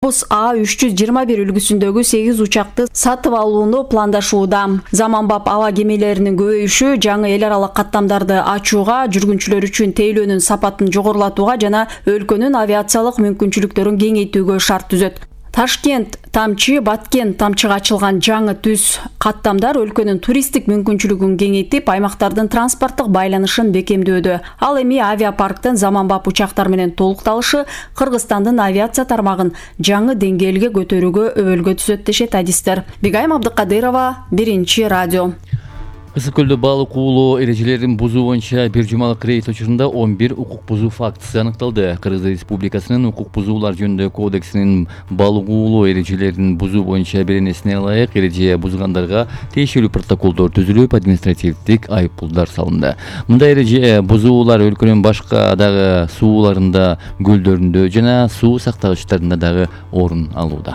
Airbus A321 үлгүсүндөгү 8 учакты сатып алууну пландашууда. Заманбап аба кемелеринин көбөйүшү жаңы эл аралык каттамдарды ачууга, жүргүнчүлөр үчүн тейлөөнүн сапатын жогорулатууга жана өлкөнүн авиациялык мүмкүнчүлүктөрүн кеңейтүүгө шарт түзөт. Ташкент Тамчы, Баткен Тамчыга ачылган жаңы түз каттамдар өлкөнүн туристтик мүмкүнчүлүгүн кеңейтип, аймактардын транспорттук байланышын бекемдөөдө. Ал эми авиапарктын заманбап учактар менен толукталышы Кыргызстандын авиация тармагын жаңы деңгээлге көтөрүүгө өбөлгө түзөт дешет адистер. Бигайым Абдыкадырова, Биринчи радио. Ысык көлдө балык уулоо эрежелерин бузуу боюнча бир жумалык рейд учурунда 11 укук бузуу фактысы аныкталды. Кыргыз Республикасынын укук бузуулар жөнүндөгү кодексинин балык уулоо эрежелерин бузуу боюнча беренесине ылайык эреже бузгандарга тиешелүү протоколдор түзүлүп, административдик айыппулдар салынды. Мындай эреже бузуулар өлкөнүн башка дагы сууларында, көлдөрүндө жана суу сактагычтарында дагы орун алууда.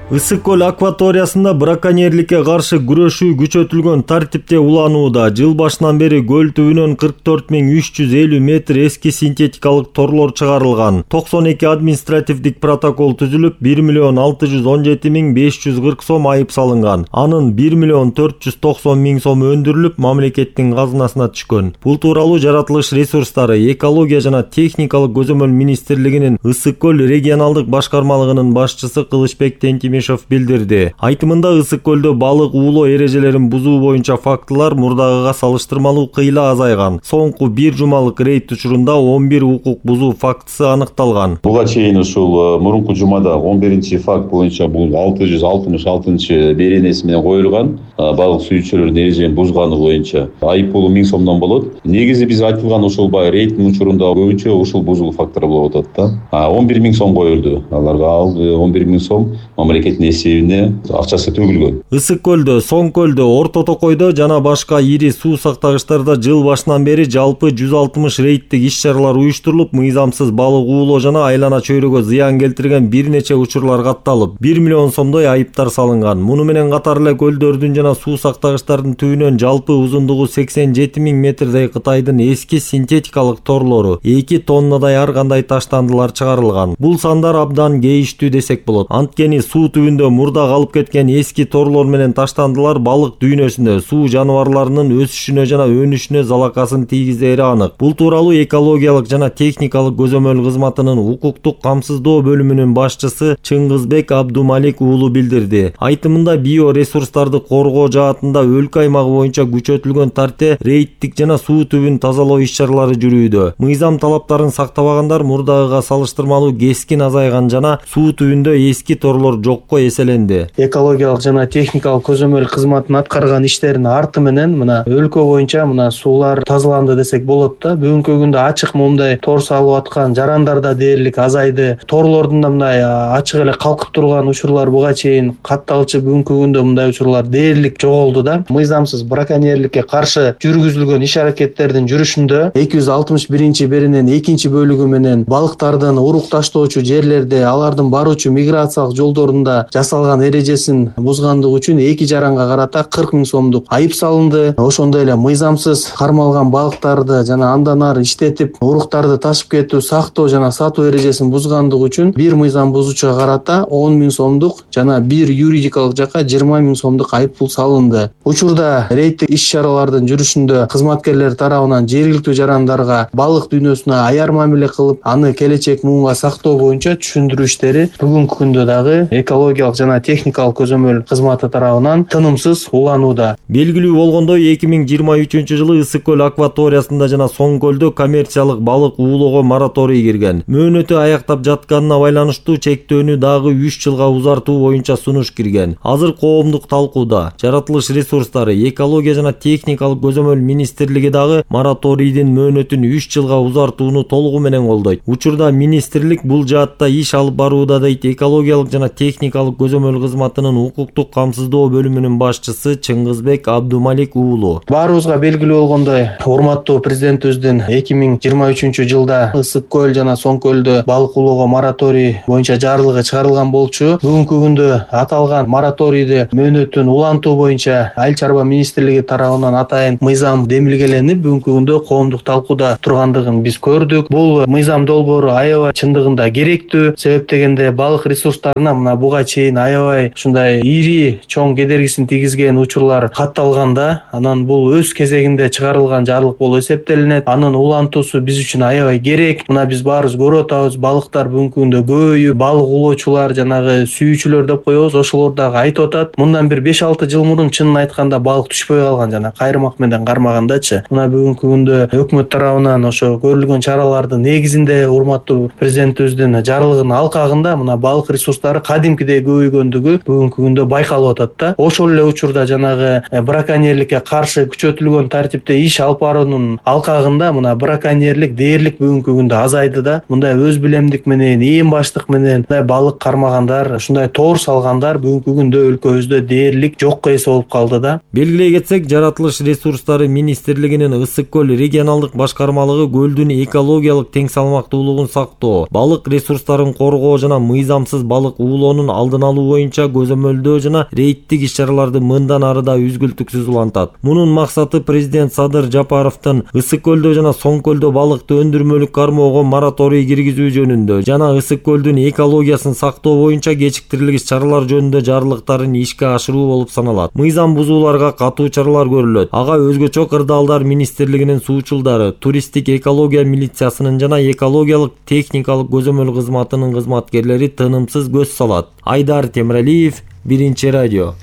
Ысык көл акваториясында браконьерликке каршы күрөшүү күчөтүлгөн тартипте уланууда. Жыл башынан бери көл түбүнөн 44.350 метр эски синтетикалык торлор чыгарылган. 92 административдик протокол түзүлүп, 1.617.540 сом айып салынган. Анын 1.490.000 сом өндүрүлүп, мамлекеттин казынасына түшкөн. Бул тууралуу жаратылыш ресурстары, экология жана техникалык көзөмөл министрлигинин Ысык көл регионалдык башкармалыгынын башчысы Кылычбек билдирди. Айтымында Ысык көлдө балык уулоо эрежелерин бузуу боюнча фактылар мурдагыга салыштырмалуу кыйла азайган. Соңку бир жумалык рейд учурунда 11 укук бузуу фактысы аныкталган. Буга чейин ушул мурунку жумада 11 факт боюнча бул 666 беренеси менен коюлган. Балык сүйүүчүлөрдүн эрежени бузганы боюнча айыппулу 1000 сомдон болот. Негизи биз айтылган ушул рейдтин учурунда көбүнчө ушул бузуу фактору болуп атат да. 11.000 сом коюлду. Аларга 11.000 сом мамлекеттин эсебине акчасы төгүлгөн. Ысык көлдө, Соң көлдө, Орто Токойдо жана башка ири суу сактагычтарда жыл башынан бери жалпы 160 рейдтик иш-чаралар уюштурулуп, мыйзамсыз балык уулоо жана айлана чөйрөгө зыян келтирген бир нече учурлар катталып, 1 миллион сомдой айыптар салынган. Муну менен катар эле көлдөрдүн жана суу сактагычтардын түбүнөн жалпы узундугу 87.000 метрдей Кытайдын эски синтетикалык торлору, 2 тоннадай ар кандай таштандылар чыгарылган. Бул сандар абдан кейиштүү десек болот. Анткени суу түбүндө мурда калып кеткен эски торлор менен таштандылар балык дүйнөсүндө суу жаныбарларынын өсүшүнө жана өнүшүнө залакасын тийгизери анык. Бул тууралуу экологиялык жана техникалык көзөмөл кызматынын укуктук камсыздоо бөлүмүнүн башчысы Чыңгызбек Абдумалик уулу билдирди. Айтымында биоресурстарды коргоо жаатында өлкө аймагы боюнча күчөтүлгөн тартипте рейдтик жана суу түбүн тазалоо иш-чаралары жүрүүдө. Мыйзам талаптарын сактабагандар мурдагыга салыштырмалуу кескин азайган жана суу түбүндө эски торлор жокко эселенди. Экологиялык жана техникалык көзөмөл кызматынын аткарган иштеринин арты менен мына өлкө боюнча мына суулар тазаланды десек болот да. Бүгүнкү күндө ачык момундай тор салып аткан жарандар да дээрлик азайды. Торлордун да мындай ачык эле калкып турган учурлар буга чейин катталчу, бүгүнкү күндө мындай учурлар дээрлик жоголду да. Мыйзамсыз браконьерликке каршы жүргүзүлгөн иш-аракеттердин жүрүшүндө 261 берененин 2 бөлүгү менен балыктардын урук таштоочу жерлерде, алардын баруучу миграциялык жолдорунда жасалган эрежесин бузгандыгы үчүн 2 жаранга карата 40.000 сомдук айып салынды. Ошондой эле мыйзамсыз кармалган балыктарды жана андан ары иштетип уруктарды ташып кетүү, сактоо жана сатуу эрежесин бузгандыгы үчүн бир мыйзам бузуучуга карата 10.000 сомдук жана бир юридикалык жакка 20.000 сомдук айыппул салынды. Учурда рейдтик иш-чаралардын жүрүшүндө кызматкерлер тарабынан жергиликтүү жарандарга балык дүйнөсүнө аяр мамиле кылып, аны келечек муунга сактоо боюнча түшүндүрүү иштери бүгүнкү күндө дагы экологиялык жана техникалык көзөмөл кызматы тарабынан тынымсыз уланууда. Белгилүү болгондой 2023-жылы Ысык көл акваториясында жана Соң көлдө коммерциялык балык уулоого мораторий кирген. Мөөнөтү аяктап жатканына байланыштуу чектөөнү дагы 3 жылга узартуу боюнча сунуш кирген. Азыр коомдук талкууда. Жаратылыш ресурстары, экология жана техникалык көзөмөл министрлиги дагы мораторийдин мөөнөтүн 3 жылга узартууну толугу менен колдойт. Учурда министрлик бул жаатта иш алып барууда дейт экологиялык жана техникалык көзөмөл кызматынын укуктук камсыздоо бөлүмүнүн башчысы Чыңгызбек Абдумалик уулу. Баарыбызга белгилүү болгондой, урматтуу президентибиздин 2023-жылда Ысык көл жана Соң көлдө балык уулоого мораторий боюнча жарлыгы чыгарылган болчу. Бүгүнкү күндө аталган мораторийди мөөнөтүн улантуу бул боюнча Айыл чарба министрлиги тарабынан атайын мыйзам демилгеленип бүгүнкү күндө коомдук талкууда тургандыгын биз көрдүк. Бул мыйзам долбоору аябай чындыгында керектүү. Себеп дегенде балык ресурстарына мына буга чейин аябай ушундай ири чоң кедергисин тийгизген учурлар катталганда, анан бул өз кезегинде чыгарылган жарлык болуп эсептелинет. Анын улантуусу биз үчүн аябай керек. Мына биз баарыбыз көрүп атабыз, балыктар бүгүнкү күндө көбөйүп, балык улоочулар, жанагы сүйүүчүлөр деп коебуз, ошолор дагы айтып атат. Мындан бир 5-6 жыл мурун чынын айтканда балык түшпөй калган, жана кайрымак менен кармагандачы. Мына бүгүнкү күндө өкмөт тарабынан ошо көрүлгөн чаралардын негизинде урматтуу президентибиздин жарлыгынын алкагында мына балык ресурстары кадимкидей көбөйгөндүгү бүгүнкү күндө байкалып атат да. Ошол эле учурда жанагы браконьерликке каршы күчөтүлгөн тартипте иш алып баруунун алкагында мына браконьерлик дээрлик бүгүнкү күндө азайды да. Мындай өз билемдик менен, ээн баштык менен мындай балык кармагандар, ушундай тоор салгандар бүгүнкү күндө өлкөбүздө дээрлик жокко эсе болуп калды да. Белгилей кетсек, Жаратылыш ресурстары министрлигинин Ысык көл регионалдык башкармалыгы көлдүн экологиялык тең салмактуулугун сактоо, балык ресурстарын коргоо жана мыйзамсыз балык уулоонун алдын алуу боюнча көзөмөлдөө жана рейдтик иш-чараларды мындан ары да үзгүлтүксүз улантат. Мунун максаты президент Садыр Жапаровдун Ысык көлдө жана Соң көлдө балыкты өндүрмөлүк кармоого мораторий киргизүү жөнүндө жана Ысык көлдүн экологиясын сактоо боюнча кечиктирилгис чаралар жөнүндө жарлыктарын ишке ашыруу болуп саналат. Мыйзам бузууларга катуу чаралар көрүлөт. Ага өзгөчө кырдаалдар министрлигинин суучулдары, туристтик экология милициясынын жана экологиялык техникалык көзөмөл кызматынын кызматкерлери тынымсыз көз салат. Айдар Темиралиев, Биринчи радио.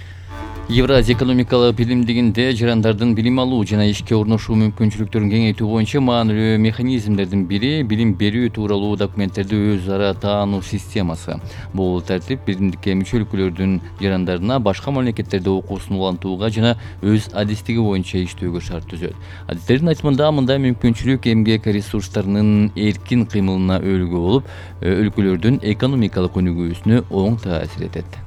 Евразия экономикалык биримдигинде жарандардын билим алуу жана ишке орношуу мүмкүнчүлүктөрүн кеңейтүү боюнча маанилүү механизмдердин бири билим берүү тууралуу документтерди өз ара таануу системасы. Бул тартип биримдикке мүчө өлкөлөрдүн жарандарына башка мамлекеттерде окуусун улантууга жана өз адистиги боюнча иштөөгө шарт түзөт. Адистердин айтымында мындай мүмкүнчүлүк эмгек ресурстарынын эркин кыймылына өөлгө болуп, өлкөлөрдүн экономикалык өнүгүүсүнө оң таасир этет.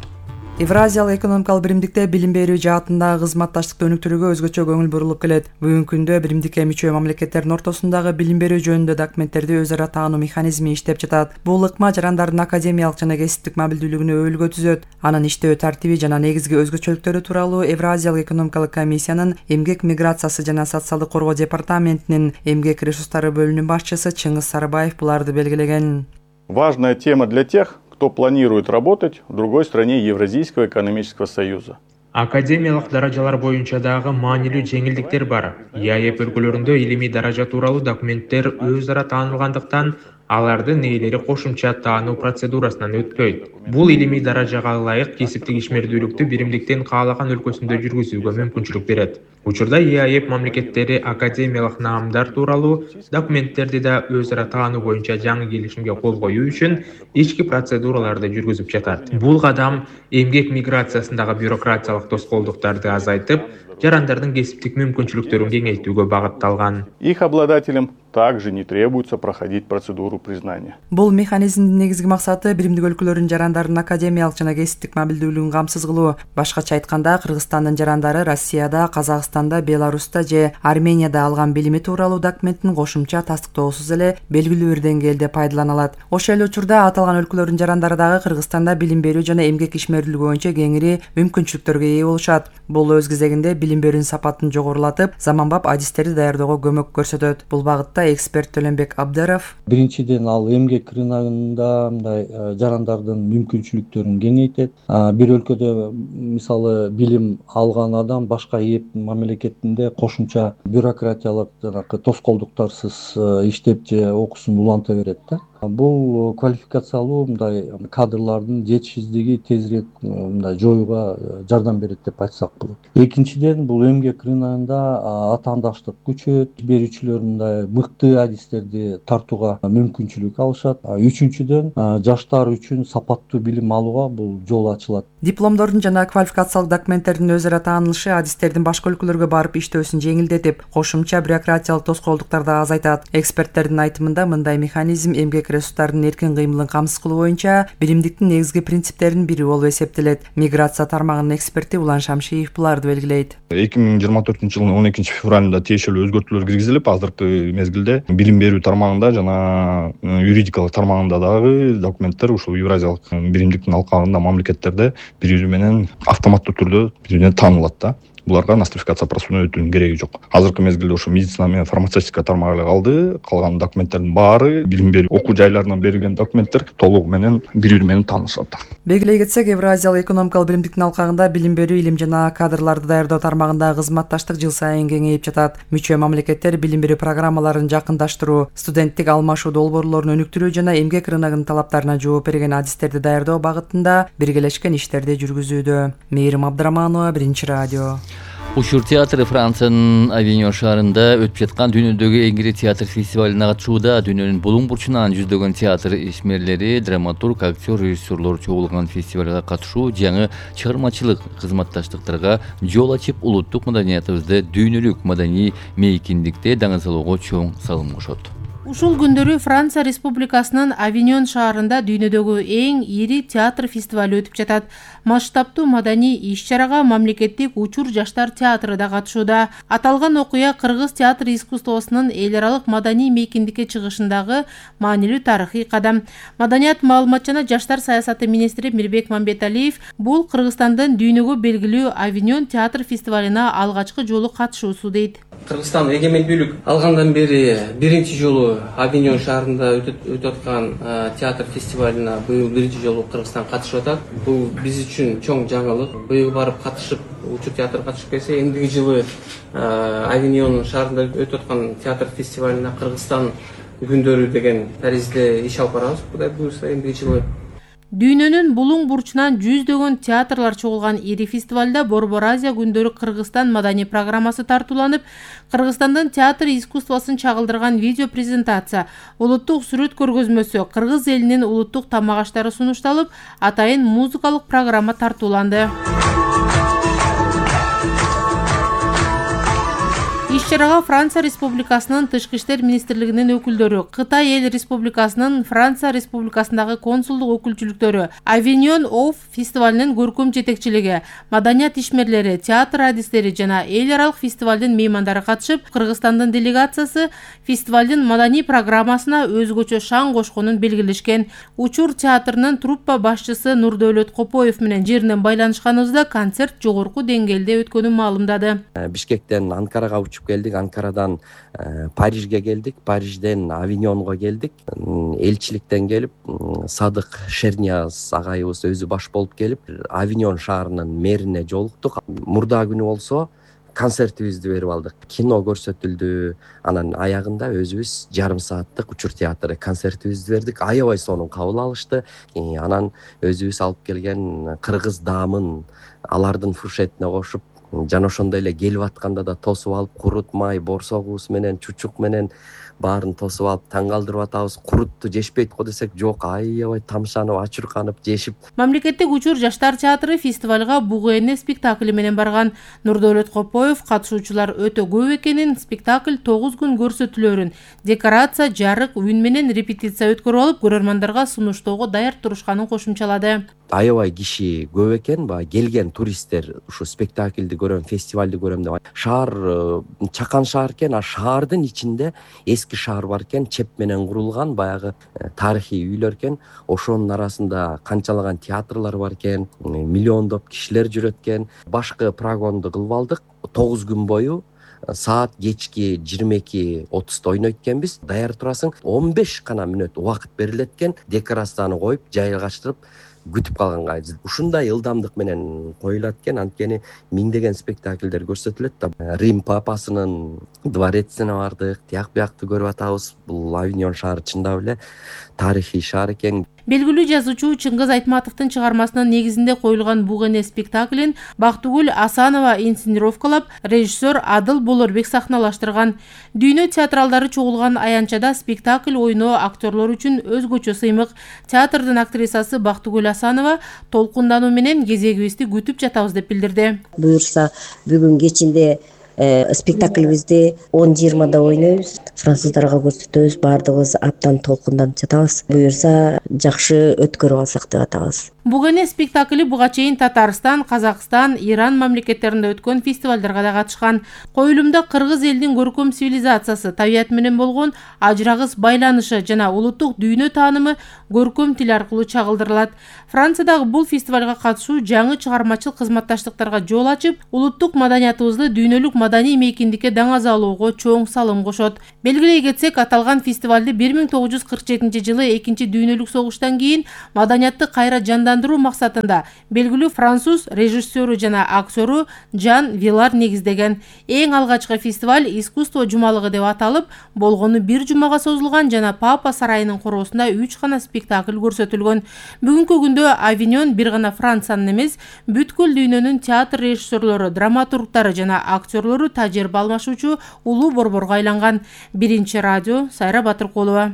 Евразиялык экономикалык биримдикте билим берүү жаатындагы кызматташтыкты өнүктүрүүгө өзгөчө көңүл бурулуп келет. Бүгүнкү күндө биримдикке мүчө мамлекеттердин ортосундагы билим берүү жөнүндө документтерди өз ара таануу механизми иштеп жатат. Бул ыкма жарандардын академиялык жана кесиптик мобилдүүлүгүнө өөлгө түзөт. Анын иштөө тартиби жана негизги өзгөчөлүктөрү тууралуу Евразиялык экономикалык комиссиянын эмгек миграциясы жана социалдык коргоо департаментинин эмгек ресурстары бөлүмүнүн башчысы Чыңгыз Сарыбаев буларды белгилеген. Важная тема для тех, кто планирует работать в другой стране Евразийского экономического союза. Академиялык даражалар боюнча дагы маанилүү жеңилдиктер бар. ЕАЭП өлкөлөрүндө илимий даража тууралуу документтер өз ара таанылгандыктан алардын ээлери кошумча таануу процедурасынан өтпөйт. Бул илимий даражага ылайык кесиптик ишмердүүлүктү биримдиктин каалаган өлкөсүндө жүргүзүүгө мүмкүнчүлүк берет. Учурда ЕАЭП мамлекеттери академиялык наамдар тууралуу документтерди да өз ара таануу боюнча жаңы келишимге кол коюу үчүн ички процедураларды жүргүзүп жатат. Бул кадам эмгек миграциясындагы бюрократиялык тоскоолдуктарды азайтып, жарандардын кесиптик мүмкүнчүлүктөрүн кеңейтүүгө багытталган. Их обладателям также не требуется проходить процедуру признания. Бул механизмдин негизги максаты биримдик өлкөлөрдүн жарандардын академиялык жана кесиптик мобилдүүлүгүн камсыз кылуу. Башкача айтканда, Кыргызстандын жарандары Россияда, Казакстанда, Беларуста же Арменияда алган билими тууралуу документтин кошумча тастыктоосуз эле белгилүү бир деңгээлде пайдалана алат. Ошол эле учурда аталган өлкөлөрдүн жарандары дагы Кыргызстанда билим берүү жана эмгек ишмердүүлүгү боюнча кеңири мүмкүнчүлүктөргө ээ болушат. Бул өз кезегинде билим берүүнүн сапатын жогорулатып, заманбап адистерди даярдөөгө көмөк көрсөтөт. Бул багытта эксперт Төлөнбек Абдыров: Биринчиден ал эмгек рыногунда мындай жарандардын мүмкүнчүлүктөрүн кеңейтет. Бир өлкөдө мисалы билим алган адам башка ЭЭП мамлекетинде кошумча бюрократиялык жанагы тоскоолдуктарсыз иштеп же окуусун уланта берет да. Бул квалификациялуу мындай кадрлардын жетишсиздиги тезирээк мындай жоюуга жардам берет деп айтсак болот. Экинчиден, бул эмгек рыногунда атаандаштык күчөйөт, берүүчүлөр мындай мыкты адистерди тартууга мүмкүнчүлүк алышат. Үчүнчүдөн, жаштар үчүн сапаттуу билим алууга бул жол ачылат. Дипломдордун жана квалификациялык документтердин өз ара таанылышы адистердин башка өлкөлөргө барып иштөөсүн жеңилдетип, кошумча бюрократиялык тоскоолдуктарды азайтат. Эксперттердин айтымында, мындай механизм эмгек биологиялык ресурстардын эркин кыймылын камсыз кылуу боюнча биримдиктин негизги принциптеринин бири болуп эсептелет. Миграция тармагынын эксперти Улан Шамшиев буларды белгилейт. 2024-жылдын 12-февралында тиешелүү өзгөртүүлөр киргизилип, азыркы мезгилде билим берүү тармагында жана юридикалык тармагында дагы документтер ушул Евразиялык биримдиктин алкагында мамлекеттерде бири-бири менен автоматтуу түрдө бири-бирине таанылат да. Буларга нострификация процедурасына өтүүнүн кереги жок. Азыркы мезгилде ошо медицина менен фармацевтика тармагы калды. Калган документтердин баары билим берүү окуу жайларынан берилген документтер толугу менен бири-бири менен таанышат. Белгилей кетсек, Евразиялык экономикалык биримдиктин алкагында билим берүү, илим жана кадрларды даярдоо тармагындагы кызматташтык жыл сайын кеңейип жатат. Мүчө мамлекеттер билим берүү программаларын жакындаштыруу, студенттик алмашуу долбоорлорун өнүктүрүү жана эмгек рыногунун талаптарына жооп берген адистерди даярдоо багытында биргелешкен иштерди жүргүзүүдө. Мээрим Абдыраманова, Биринчи радио. Учур театры Франциянын Авиньон шаарында өтүп жаткан дүйнөдөгү эң ири театр фестивалине катышууда. Дүйнөнүн булуң бурчунан жүздөгөн театр ишмерлери, драматург, актер, режиссерлор чогулган фестивалга катышуу жаңы чыгармачылык кызматташтыктарга жол ачып, улуттук маданиятыбызды дүйнөлүк маданий мейкиндикте даңазалоого чоң салым кошот. Ушул күндөрү Франция Республикасынын Авиньон шаарында дүйнөдөгү эң ири театр фестивали өтүп жатат. Масштабтуу маданий иш-чарага мамлекеттик Учур жаштар театры да катышууда. Аталган окуя кыргыз театр искусствосунун эл аралык маданий мейкиндикке чыгышындагы маанилүү тарыхый кадам. Маданият, маалымат жана жаштар саясаты министри Мирбек Мамбеталиев бул Кыргызстандын дүйнөгө белгилүү Авиньон театр фестивалына алгачкы жолу катышуусу дейт. Кыргызстан эгемендүүлүк алгандан бери биринчи жолу Авиньон шаарында өтүп аткан театр фестивалына быйыл биринчи жолу Кыргызстан катышып атат. Бул биз үчүн чоң жаңылык. Быйыл барып катышып, Учур театр катышып келсе, эндиги жылы Авиньон шаарында өтүп аткан театр фестивалына Кыргызстан күндөрү деген таризде иш алып барабыз. Кудай буйрса эндиги жылы. Дүйнөнүн булуң бурчунан жүздөгөн театрлар чогулган ири фестивалда Борбор Азия күндөрү Кыргызстан маданий программасы тартууланып, Кыргызстандын театр искусствосун чагылдырган видео презентация, улуттук сүрөт көргөзмөсү, кыргыз элинин улуттук тамак аштары сунушталып, атайын музыкалык программа тартууланды. Иш-чарага Франция Республикасынын Тышкы иштер министрлигинин өкүлдөрү, Кытай Эл Республикасынын Франция Республикасындагы консулдук өкүлчүлүктөрү, Авиньон Оф фестивалынын көркөм жетекчилиги, маданият ишмерлери, театр адистери жана эл аралык фестивалдын меймандары катышып, Кыргызстандын делегациясы фестивалдын маданий программасына өзгөчө шаң кошконун белгилешкен. Учур театрынын труппа башчысы Нурдөөлөт Копоев менен жеринен байланышканыбызда концерт жогорку деңгээлде өткөнүн маалымдады. Бишкектен Анкарага учуп келдик, Анкарадан Парижге келдик, Парижден Авиньонго келдик. Элчиликтен келип, Садык Шернияз агайыбыз өзү баш болуп келип, Авиньон шаарынын мэрине жолуктук. Мурда күнү болсо концертибизди берип алдык. Кино көрсөтүлдү. Анан аягында өзүбүз жарым сааттык Учур театры концертибизди бердик. Аябай сонун кабыл алышты. Анан өзүбүз алып келген кыргыз даамын алардын фуршетине кошуп, жана ошондой эле келип атканда да тосуп алып, курут май, борсогубуз менен, чучук менен баарын тосуп алып таң калтырып атабыз. Курутту жешпейт го десек, жок, аябай тамшанып, ачурканып жешип. Мамлекеттик Учур жаштар театры фестивалга Бугуэне спектакли менен барган. Нурдөөлөт Копоев катышуучулар өтө көп экенин, спектакль 9 күн көрсөтүлөрүн, декорация, жарык, үн менен репетиция өткөрүп алып, көрөрмандерге сунуштоого даяр турушканын кошумчалады. Аябай киши көп экен, келген туристтер ушу спектакльди көрөм, фестивалды көрөм деп. Шаар чакан шаар экен, а шаардын ичинде эски шаар бар экен, чеп менен курулган баягы тарыхый үйлөр экен. Ошонун арасында канчалаган театрлар бар экен, миллиондоп кишилер жүрөт экен. Башкы прогонду кылып алдык. 9 күн бою саат кечки 22:30 ойнойт экенбиз. Даяр турасың, 15 гана мүнөт убакыт берилет экен. Декорацияны коюп, жайгаштырып күтүп калганга. Ушундай ылдамдык менен коюлат экен, анткени миңдеген спектакльдер көрсөтүлөт да. Рим папасынын дворецине бардык, тияк биякты көрүп атабыз. Бул Авиньон шаары чындап эле тарыхый шаар экен. Белгилүү жазуучу Чыңгыз Айтматовдун чыгармасынын негизинде коюлган Бугуэне спектаклин Бактыгүл Асанова инсценировкалап, режиссер Адыл Болорбек сахналаштырган. Дүйнө театралдары чогулган аянчада спектакль ойноо актерлор үчүн өзгөчө сыймык. Театрдын актрисасы Бактыгүл Асанова толкундануу менен кезегибизди күтүп жатабыз деп билдирди. Буюрса бүгүн кечинде спектаклибизди 10-20 ойнойбуз, француздарга көрсөтөбүз, баардыгыбыз абдан толкунданып жатабыз. Буюрса жакшы өткөрүп алсак деп атабыз. Бугене спектакли буга чейин Татарстан, Казакстан, Иран мамлекеттеринде өткөн фестивалдарга да катышкан. Коюлумда кыргыз элинин көркөм цивилизациясы, табият менен болгон ажырагыс байланышы жана улуттук дүйнө таанымы көркөм тил аркылуу чагылдырылат. Франциядагы бул фестивалга катышуу жаңы чыгармачылык кызматташтыктарга жол ачып, улуттук маданиятыбызды дүйнөлүк маданий мейкиндикке даңазалоого чоң салым кошот. Белгилей кетсек, аталган фестивалды 1947-жылы 2 дүйнөлүк согуштан кийин маданиятты кайра жандандыруу максатында белгилүү француз режиссеру жана актеру Жан Вилар негиздеген. Эң алгачкы фестиваль искусство жумалыгы деп аталып, болгону 1 жумага созулган жана Папа сарайынын короосунда 3 гана спектакль көрсөтүлгөн. Бүгүнкү күндө Авиньон бир гана Франциянын эмес, бүткүл дүйнөнүн театр режиссерлору, драматургтары жана актерлору тажрыйба алмашуучу улуу борборго айланган. Биринчи радио, Сайра Батыркулова.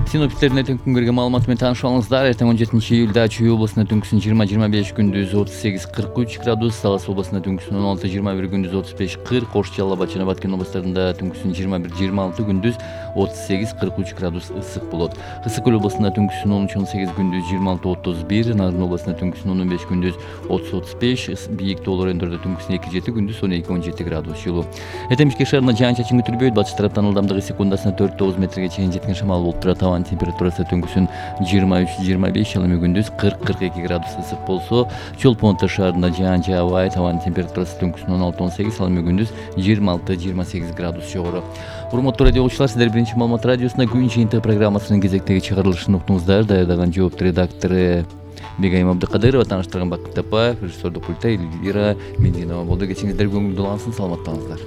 Синоптиктердин эртең күнгөргө маалыматы менен тааныша алыңыздар. Эртең 17 июлда Чүй облусунда түнкүсүн 20-25, күндүз 38-43 градус, Талас облусунда түнкүсүн 16-21, күндүз 35-40, Кош, Жалал Абад жана Баткен облустарында түнкүсүн 21-26, күндүз 38-43 градус ысык болот. Ысык Көл облусунда түнкүсүн 13-18, күндүз 26-31, Нарын облусунда түнкүсүн 15, күндүз 30-35, бийик тоолор өндөрдө түнкүсүн 2-7, күндүз 12-17 градус жылуу. Эртең Бишкек шаарында жаан-чачын күтүлбөйт. Батыш тараптан ылдамдыгы секундасына 4-9 метрге чейин жеткен шамал болуп турат. Табан температурасы түнкүсүн 23-25, ал эми күндүз 40-42 градус ысык болсо, Чолпон шаарында жаан жаабайт. Табан температурасы түнкүсүн 16-18, ал эми күндүз 26-28 градус жогору. Урматтуу радио угуучулар, сиздер биринчи маалымат радиосунда күн жыйынтыгы программасынын кезектеги чыгарылышын уктуңуздар. Даярдаган жоопту редактору Бегайым Абдыкадырова, тааныштырган Бакыт Тапаев, режиссердук пульта Эльвира Мединова болду. Кечиңиздер көңүлдүү улансын, саламаттаңыздар.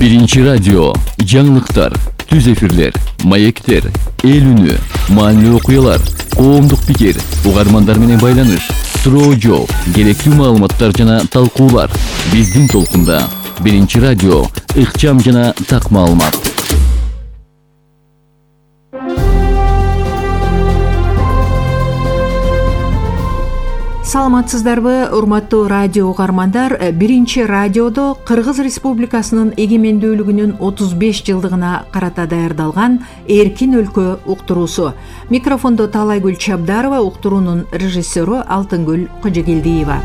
Биринчи радио, жаңылыктар, түз эфирлер, маектер, эл үнү, маанилүү окуялар, коомдук пикир, угармандар менен байланыш, суроо жооп, керектүү маалыматтар жана талкуулар. Биздин толкунда. Биринчи радио, ыкчам жана так маалымат. Саламатсыздарбы, урматтуу радио угармандар. Биринчи радиодо Кыргыз Республикасынын эгемендүүлүгүнүн 35 жылдыгына карата даярдалган Эркин өлкө уктуруусу. Микрофондо Таалайгүл Чабдарова, уктуруунун режиссеру Алтынгүл Кожогелдиева.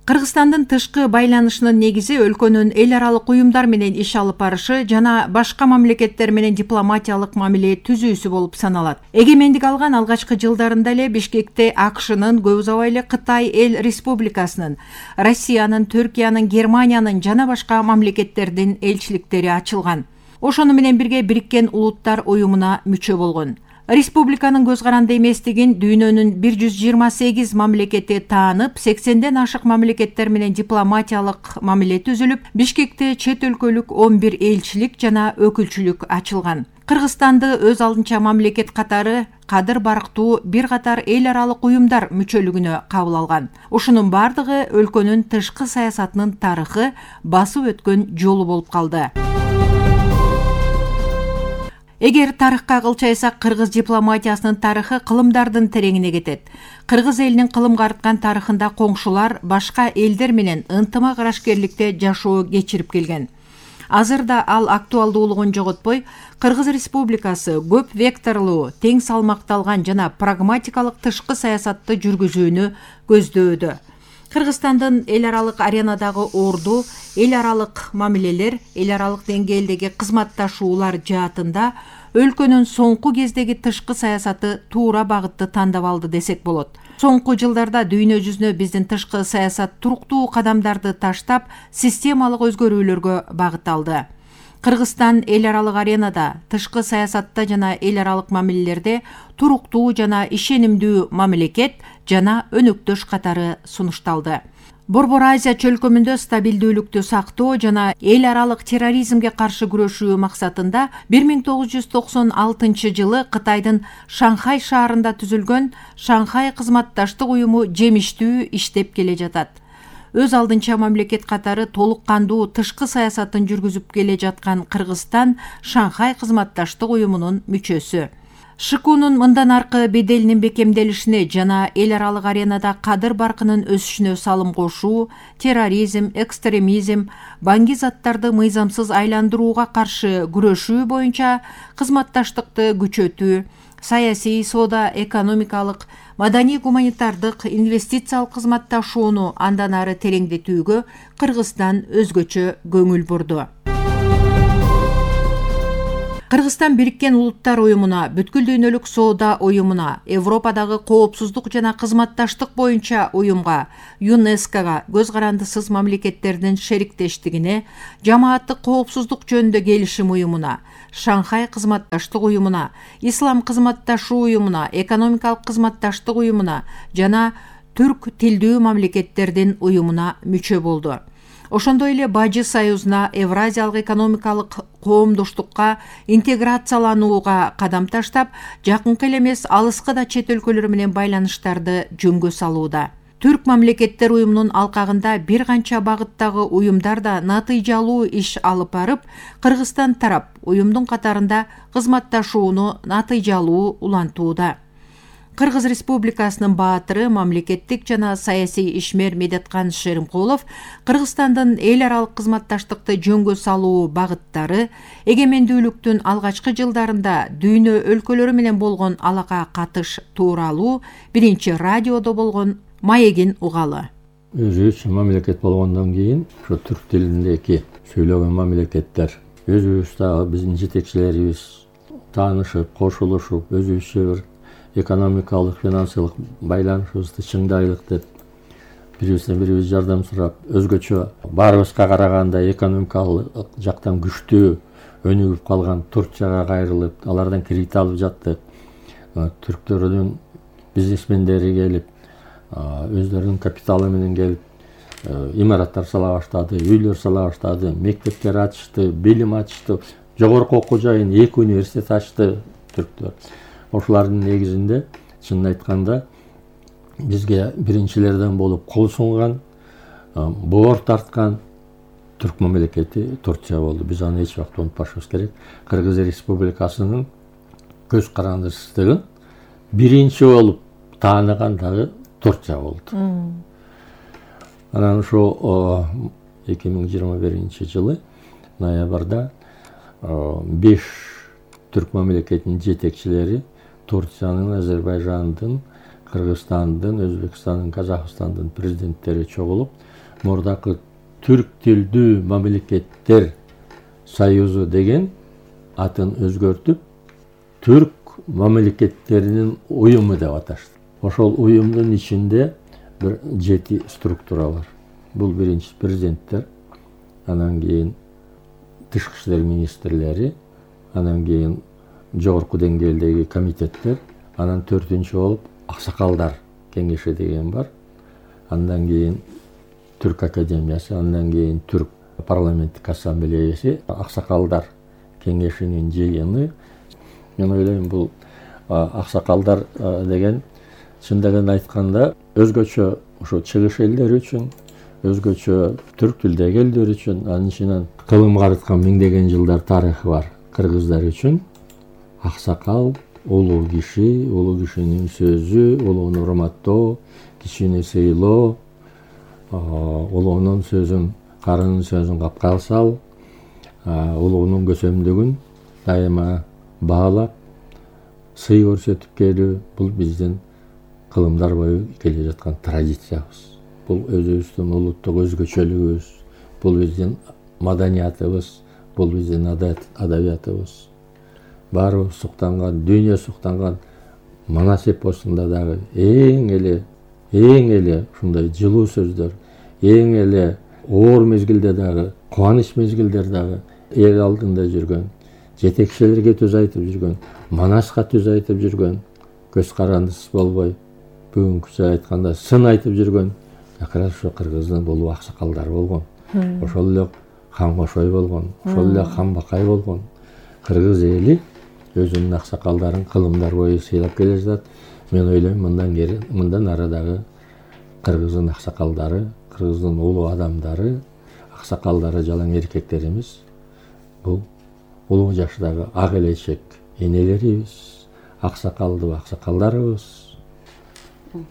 Кыргызстандын тышкы байланышынын негизи өлкөнүн эл аралык уюмдар менен иш алып барышы жана башка мамлекеттер менен дипломатиялык мамиле түзүүсү болуп саналат. Эгемендик алган алгачкы жылдарында эле Бишкекте АКШнын, көп узабай эле Кытай Эл Республикасынын, Россиянын, Түркиянын, Германиянын жана башка мамлекеттердин элчиликтери ачылган. Ошону менен бирге Бириккен Улуттар уюмуна мүчө болгон. Республиканын көз каранды эместигин дүйнөнүн 128 мамлекети таанып, 80ден ашык мамлекеттер менен дипломатиялык мамиле түзүлүп, Бишкекте чет өлкөлүк 11 элчилик жана өкүлчүлүк ачылган. Кыргызстанды өз алдынча мамлекет катары кадыр барктуу бир катар эл аралык уюмдар мүчөлүгүнө кабыл алган. Ушунун бардыгы өлкөнүн тышкы саясатынын тарыхы, басып өткөн жолу болуп калды. Эгер тарыхка кылчайсак, кыргыз дипломатиясынын тарыхы кылымдардын тереңине кетет. Кыргыз элинин кылымга арткан тарыхында коңшулар башка элдер менен ынтымак арашкерликте жашоо кечирип келген. Азырда ал актуалдуулугун жоготпой, Кыргыз Республикасы көп векторлуу, тең салмакталган жана прагматикалык тышкы саясатты жүргүзүүнү көздөөдө. Кыргызстандын эл аралык аренадагы орду, эл аралык мамилелер, эл аралык деңгээлдеги кызматташуулар жаатында өлкөнүн соңку кездеги тышкы саясаты туура багытты тандап алды десек болот. Соңку жылдарда дүйнө жүзүнө биздин тышкы саясат туруктуу кадамдарды таштап, системалык өзгөрүүлөргө багыт алды. Кыргызстан эл аралык аренада, тышкы саясатта жана эл аралык мамилелерде туруктуу жана ишенимдүү мамлекет жана өнөктөш катары сунушталды. Борбор Азия чөлкөмүндө стабилдүүлүктү сактоо жана эл аралык терроризмге каршы күрөшүү максатында 1996 жылы Кытайдын Шанхай шаарында түзүлгөн Шанхай кызматташтык уюму жемиштүү иштеп келе жатат. Өз алдынча мамлекет катары толук кандуу тышкы саясатын жүргүзүп келе жаткан Кыргызстан Шанхай кызматташтык уюмунун мүчөсү. ШКУнун мындан аркы беделинин бекемделишине жана эл аралык аренада кадыр баркынын өсүшүнө салым кошуу, терроризм, экстремизм, баңги заттарды мыйзамсыз айландырууга каршы күрөшүү боюнча кызматташтыкты күчөтүү, саясий, соода, экономикалык, маданий гуманитардык, инвестициялык кызматташууну андан ары тереңдетүүгө Кыргызстан өзгөчө көңүл бурду. Кыргызстан Бириккен Улуттар уюмуна, Бүткүл дүйнөлүк соода уюмуна, Европадагы коопсуздук жана кызматташтык боюнча уюмга, ЮНЕСКОга, көз карандысыз мамлекеттердин шериктештигине, жамааттык коопсуздук жөнүндө келишим уюмуна, Шанхай кызматташтык уюмуна, Ислам кызматташуу уюмуна, Экономикалык кызматташтык уюмуна жана түрк тилдүү мамлекеттердин уюмуна мүчө болду. Ошондой эле Бажы Союзуна, Евразиялык экономикалык коомдоштукка интеграцияланууга кадам таштап, жакынкы эле эмес алыскы да чет өлкөлөр менен байланыштарды жөнгө салууда. Түрк мамлекеттер уюмунун алкагында бир канча багыттагы уюмдар да натыйжалуу иш алып барып, Кыргызстан тарап уюмдун катарында кызматташууну натыйжалуу улантууда. Кыргыз Республикасынын баатыры, мамлекеттик жана саясий ишмер Медеткан Шеримкулов Кыргызстандын эл аралык кызматташтыкты жөнгө салуу багыттары, эгемендүүлүктүн алгачкы жылдарында дүйнө өлкөлөрү менен болгон алака катыш тууралуу биринчи радиодо болгон маегин угалы. Өзүбүз мамлекет болгондон кийин ошо түрк тилиндеги сүйлөгөн мамлекеттер өзүбүз дагы биздин жетекчилерибиз таанышып, кошулушуп, өзүбүзчө бир экономикалык, финансылык байланышыбызды чыңдайлык деп бирибизден бирибиз жардам сурап, өзгөчө баарыбызга караганда экономикалык жактан күчтүү өнүгүп калган Турцияга кайрылып, алардан кредит алып жаттык. Түрктөрдүн бизнесмендери келип, өздөрүнүн капиталы менен келип, имараттар сала баштады, үйлөр сала баштады, мектептер ачышты, билим ачышты, жогорку окуу жайын 2 университет ачты түрктөр. Ошолардын негизинде чынын айтканда бизге биринчилерден болуп кол сунган, боор тарткан түрк мамлекети Турция болду. Биз аны эч убакта унутпашыбыз керек. Кыргыз Республикасынын көз карандысыздыгын биринчи болуп тааныган дагы Турция болду. Анан ошо 2021 жылы ноябрда 5 түрк мамлекетинин жетекчилери Турциянын, Азербайжандын, Кыргызстандын, Өзбекстандын, Казакстандын президенттери чогулуп, мурдакы түрк тилдүү мамлекеттер союзу деген атын өзгөртүп, түрк мамлекеттеринин уюму деп аташты. Ошол уюмдун ичинде бир 7 структура бар. Бул биринчи президенттер, анан кийин тышкы иштер министрлери, анан кийин жогорку деңгээлдеги комитеттер, анан 4-нчү болуп аксакалдар кеңеши деген бар. Андан кийин Түрк академиясы, андан кийин Түрк парламенттик ассамблеясы, аксакалдар кеңешинин жыйыны. Мен ойлойм, бул аксакалдар деген чындыгын айтканда өзгөчө ошо чыгыш элдери үчүн, өзгөчө түрк тилдеги элдер үчүн, анын ичинен кылым карыткан миңдеген жылдар тарыхы бар кыргыздар үчүн аксакал улуу кишинин сөзү, улууну урматтоо, кичини сыйлоо, улуунун сөзүн, карынын сөзүн капка сал, улуунун көсөмдүгүн дайыма баалап, сый көрсөтүп келүү, бул биздин кылымдар бою келе жаткан традициябыз. Бул өзүбүздүн улуттук өзгөчөлүгүбүз, бул биздин маданиятыбыз, бул биздин адабиятыбыз. Баарыбыз суктанган, дүйнө суктанган Манас эпосунда дагы эң эле ушундай жылуу сөздөр, эң эле оор мезгилде дагы, кубаныч мезгилдер дагы эл алдында жүргөн, жетекчилерге сөз айтып жүргөн, Манаска сөз айтып жүргөн, көз карандысыз болбой, бүгүнкүчө айтканда сын айтып жүргөн акыры ошо кыргыздын болуп аксакалдар болгон. Ошол эле хан Кошой болгон, ошол эле хан Бакай болгон. Кыргыз эли өзүнүн аксакалдарын кылымдар бою сыйлап келе жатат. Мен ойлойм, мындан ары дагы кыргыздын аксакалдары, кыргыздын улуу адамдары, аксакалдары, жалаң эркектерибиз бул улуу жаштагы ак элечек энелерибиз, аксакалдарыбыз,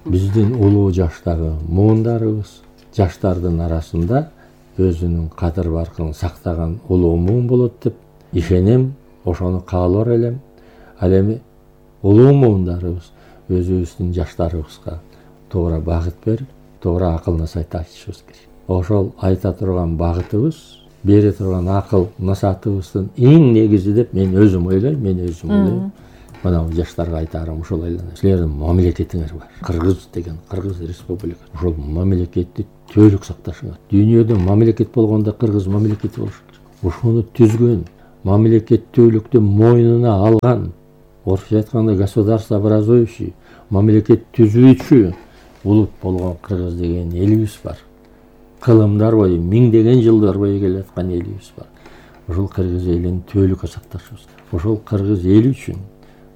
биздин улуу жаштагы муундарыбыз жаштардын арасында өзүнүн кадыр баркын сактаган улуу муун болот деп ишенем, ошону каалар элем. Ал эми улуу муундарыбыз өзүбүздүн жаштарыбызга туура багыт берип, туура акыл насаат айтышыбыз керек. Ошол айта турган багытыбыз, бере турган акыл насаатыбыздын эң негизи деп мен өзүм ойлойм. Мына жаштарга айтарым ушул эле. Силердин мамлекетиңер бар. Кыргыз деген, Кыргыз Республикасы. Ошол мамлекетти түбөлүк сакташыңар. Дүйнөдө мамлекет болгондо Кыргыз мамлекети болуш керек. Ошону түзгөн, мамлекеттүүлүктү мойнуна алган, орусча айтканда государствообразующий, мамлекет түзүүчү улут болгон Кыргыз деген элибиз бар. Кылымдар бою, миңдеген жылдар бою келаткан элибиз бар. Ошол Кыргыз элин түбөлүккө сакташыбыз. Ошол Кыргыз эли үчүн,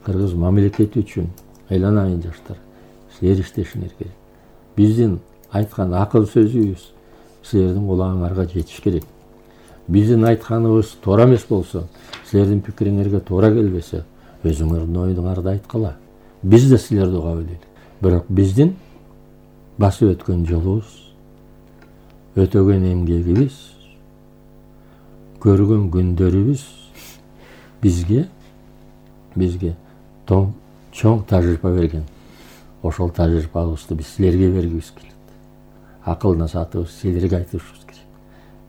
Кыргыз мамлекети үчүн айланайын жаштар, силер иштешиңер керек. Биздин айткан акыл сөзүбүз силердин кулагыңарга жетиш керек. Биздин айтканыбыз туура эмес болсо, силердин пикириңерге туура келбесе, өзүңөрдүн оюңарды айткыла. Биз да силерди угап элек. Бирок биздин басып өткөн жолубуз, өтөгөн эмгегибиз, көргөн күндөрүбүз бизге чоң тажрыйба берген. Ошол тажрыйбабызды биз силерге бергибиз келет. Акыл насаатыбыз силерге айтышыбыз керек.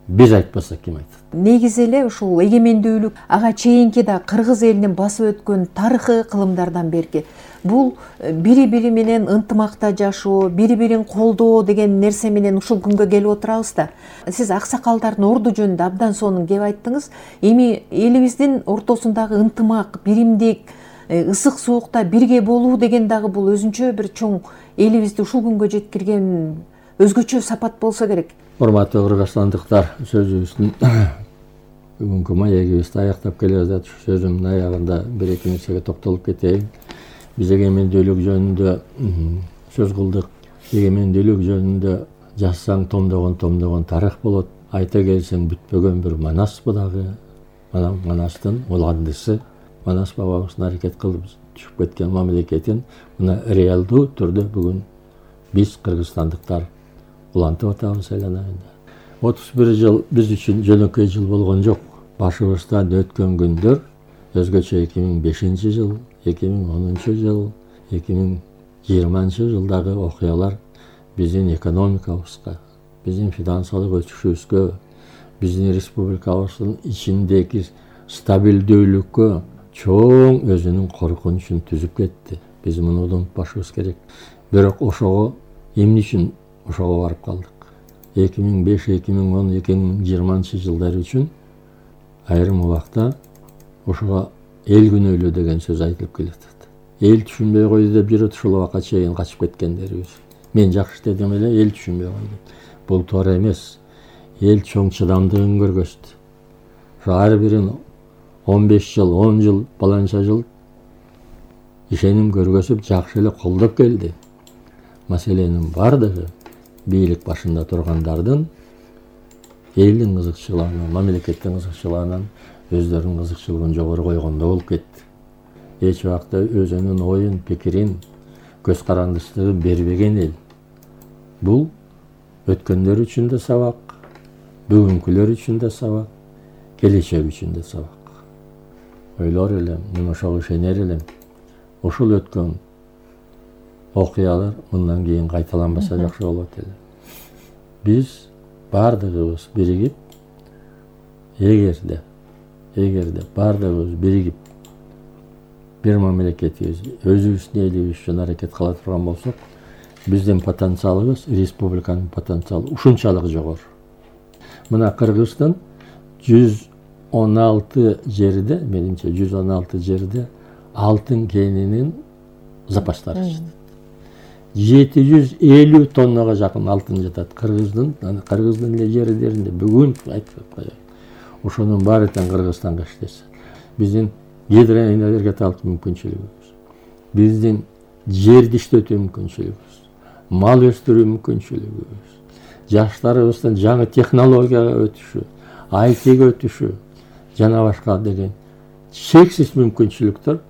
Биз айтпасак ким айтат? Негизи эле ушул эгемендүүлүк ага чейинки да Кыргыз элинин басып өткөн тарыхы кылымдардан берки. Бул бири-бири менен ынтымакта жашоо, бири-бирин колдоо деген нерсе менен ушул күнгө келип отурабыз да. Сиз аксакалдардын орду жөнүндө абдан сонун кеп айттыңыз. Эми элибиздин ортосундагы ынтымак, биримдик, ысык суукта бирге болуу деген дагы бул өзүнчө бир чоң элибизди ушул күнгө жеткирген өзгөчө сапат болсо керек. Урматтуу кыргызстандыктар, сөзүбүздүн бүгүнкү маегибизди аяктап келе жатып, сөзүмдүн аягында бир-эки нерсеге токтолуп кетейин. Биз эгемендүүлүк жөнүндө сөз кылдык. Эгемендүүлүк жөнүндө жазсаң томдогон тарых болот. Айта келсең бүтпөгөн бир Манас дагы. Манастын уландысы, Манас бабабыздын аракет кылып түшүп кеткен мамлекетин мына реалдуу түрдө бүгүн биз кыргызстандыктар улантып атабыз айланайында. 31 жыл биз үчүн жөнөкөй жыл болгон жок. Башыбыздан өткөн күндөр өзгөчө 2005 жыл, 2010 жыл, 2020 жылдагы окуялар биздин экономикабызга, биздин финансылык өсүшүбүзгө, биздин республикабыздын ичиндеги стабилдүүлүккө чоң өзүнүн коркунучун түзүп кетти. Биз муну унутпашыбыз керек. Бирок ошого эмне үчүн ошого барып калдык? 2005, 2010, 2020 жылдар үчүн айрым убакта ошого эл күнөөлүү деген сөз айтылып келатат. Эл түшүнбөй койду деп жүрөт, ушул убакка чейин качып кеткендерибиз. Мен жакшы дедим эле, эл түшүнбөй койду. Бул туура эмес. Эл чоң чыдамдыгын көргөздү. Ар бирин 15 жыл, 10 жыл, баланча жыл ишеним көргөзүп, жакшы эле колдоп келди. Маселенин бардыгы бийлик башында тургандардын элдин кызыкчылыгынан, мамлекеттин кызыкчылыгынан өздөрүнүн кызыкчылыгын жогору койгондо болуп кетти. Эч убакта өзүнүн оюн, пикирин, көз карандысты бербеген эл. Бул өткөндөр үчүн да сабак, бүгүнкүлөр үчүн да сабак, келечек үчүн да сабак. Ойлор элем, мен ошого ишенер элем. Ушул өткөн окуялар мындан кийин кайталанбаса жакшы болот эле. Биз бардыгыбыз биригип, эгерде бардыгыбыз биригип бир мамлекетибизди, өзүбүздүн элибиз үчүн аракет кыла турган болсок, биздин потенциалыбыз, республиканын потенциалы ушунчалык жогору. Мына Кыргыздын 116 жерде, менимче 116 жерде алтын кенинин запастары жатат. 750 тоннага жакын алтын жатат Кыргыздын эле жерлеринде. Бүгүн айтып коеюн. Ошонун баары тең Кыргызстанга иштесе. Биздин гидроэнергетикалык мүмкүнчүлүгүбүз, биздин жерди иштетүү мүмкүнчүлүгүбүз, мал өстүрүү мүмкүнчүлүгүбүз, жаштарыбыздын жаңы технологияга өтүшү, айтиге өтүшү жана башка деген чексиз мүмкүнчүлүктөр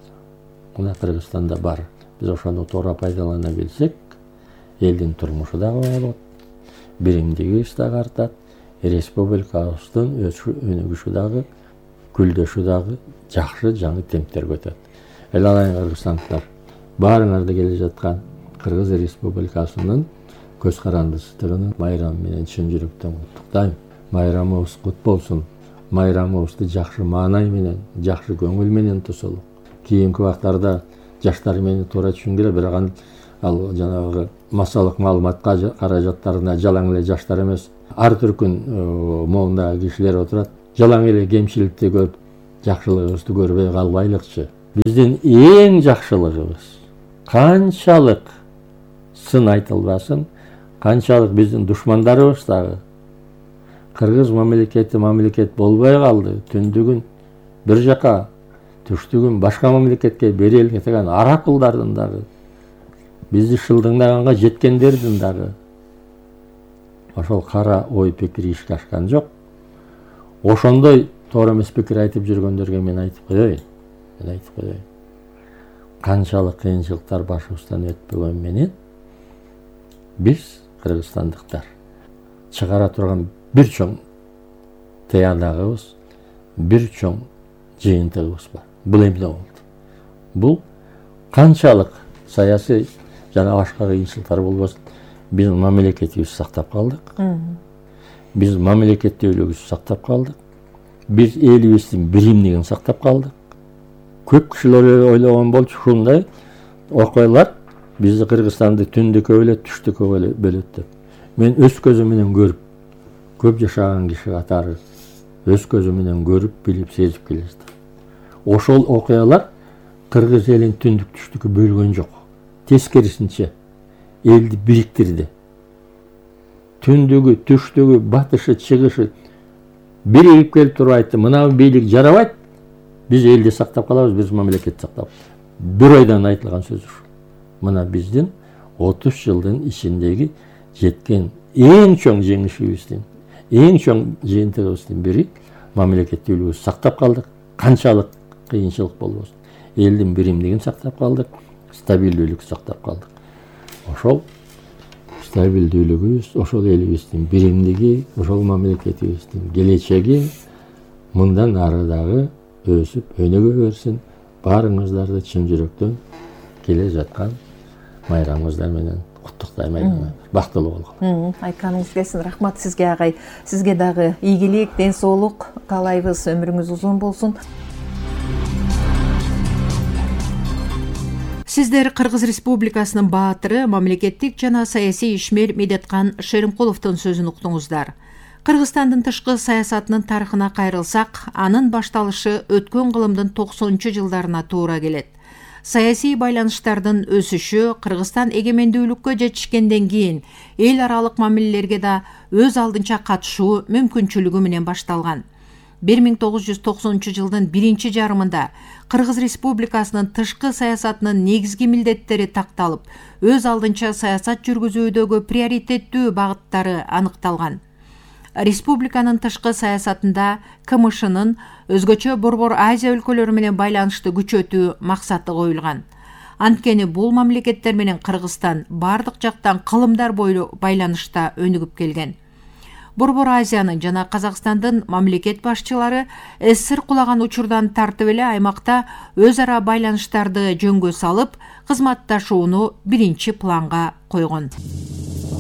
мына Кыргызстанда бар. Биз ошону туура пайдалана билсек, элдин турмушу дагы болот, биримдигибиз дагы артат, республикабыздын өнүгүшү дагы, гүлдөшү дагы жакшы жаңы темптерге өтөт. Эл алайын кыргызстандыктар, баарыңарды келе жаткан Кыргыз Республикасынын көз карандысыздыгын майрамы менен чын жүрөктөн куттуктайм. Майрамыбыз кут болсун. Майрамыбызды жакшы маанай менен, жакшы көңүл менен тосолук. Кийинки убактарда жаштар мени туура түшүнгүлө, бирок ал жанагы массалык маалыматка каражаттарына жалаң эле жаштар эмес, ар түркүн моундагы кишилер отурат. Жалаң эле кемчиликти көрүп, жакшылыгыбызды көрбөй калбайлыкчы. Биздин эң жакшылыгыбыз канчалык сын айтылбасын, канчалык биздин душмандарыбыз дагы кыргыз мамлекети мамлекет болбой калды, түндүгүн бир жака, түштүгүн башка мамлекетке берели деген аракылдардын дагы, бизди шылдыңдаганга жеткендердин дагы ошол кара ой пикири ишке ашкан жок. Ошондой туура эмес пикир айтып жүргөндөргө мен айтып коеюн. Канчалык кыйынчылыктар башыбыздан өтпөгөн менен биз кыргызстандыктар чыгара турган бир чоң тыянагыбыз, бир чоң жыйынтыгыбыз бар. Бул эмне болду? Бул канчалык саясий жана башка кыйынчылыктар болбосун, биз мамлекетибизди сактап калдык. Биз мамлекеттүүлүгүбүздү сактап калдык. Биз элибиздин биримдигин сактап калдык. Көп кишилер ойлогон болчу ушундай окуялар бизди Кыргызстанды түндүккө бөлөт, түштүккө бөлөт деп. Мен өз көзүм менен көрүп, көп жашаган киши катары өз көзүм менен көрүп, билип, сезип келе жатам. Ошол окуялар кыргыз элин түндүк түштүккө бөлгөн жок. Тескерисинче элди бириктирди. Түндүгү, түштүгү, батышы, чыгышы биригип келип туруп айтты, мына бийлик жарабайт, биз элди сактап калабыз, биз мамлекетти сактап. Бир ойдон айтылган сөз ушул. Мына биздин 30 жылдын ичиндеги жеткен эң чоң жеңишибиздин, эң чоң жыйынтыгыбыздын бири мамлекеттүүлүгүбүздү сактап калдык. Канчалык кыйынчылык болбосун, элдин биримдигин сактап калдык, стабилдүүлүктү сактап калдык. Ошол стабилдүүлүгүбүз, ошол элибиздин биримдиги, ошол мамлекетибиздин келечеги мындан ары дагы өсүп, өнүгө берсин. Баарыңыздарды чын жүрөктөн келе жаткан майрамыңыздар менен куттуктайм. Бактылуу болгула. Айтканыңыз келсин. Рахмат сизге агай. Сизге дагы ийгилик, ден соолук каалайбыз. Өмүрүңүз узун болсун. Сиздер Кыргыз Республикасынын баатыры, мамлекеттик жана саясий ишмер Медеткан Шеримкуловдун сөзүн уктуңуздар. Кыргызстандын тышкы саясатынын тарыхына кайрылсак, анын башталышы өткөн кылымдын 90-жылдарына туура келет. Саясий байланыштардын өсүшү Кыргызстан эгемендүүлүккө жетишкенден кийин эл аралык мамилелерге да өз алдынча катышуу мүмкүнчүлүгү менен башталган. 1990 жылдын биринчи жарымында Кыргыз Республикасынын тышкы саясатынын негизги милдеттери такталып, өз алдынча саясат жүргүзүүдөгү приоритеттүү багыттары аныкталган. Республиканын тышкы саясатында КМШнын өзгөчө Борбор Азия өлкөлөрү менен байланышты күчөтүү максаты коюлган. Анткени бул мамлекеттер менен Кыргызстан бардык жактан кылымдар бойлуу байланышта өнүгүп келген. Борбор Азиянын жана Казакстандын мамлекет башчылары СССР кулаган учурдан тартып эле аймакта өз ара байланыштарды жөнгө салып, кызматташууну биринчи планга койгон.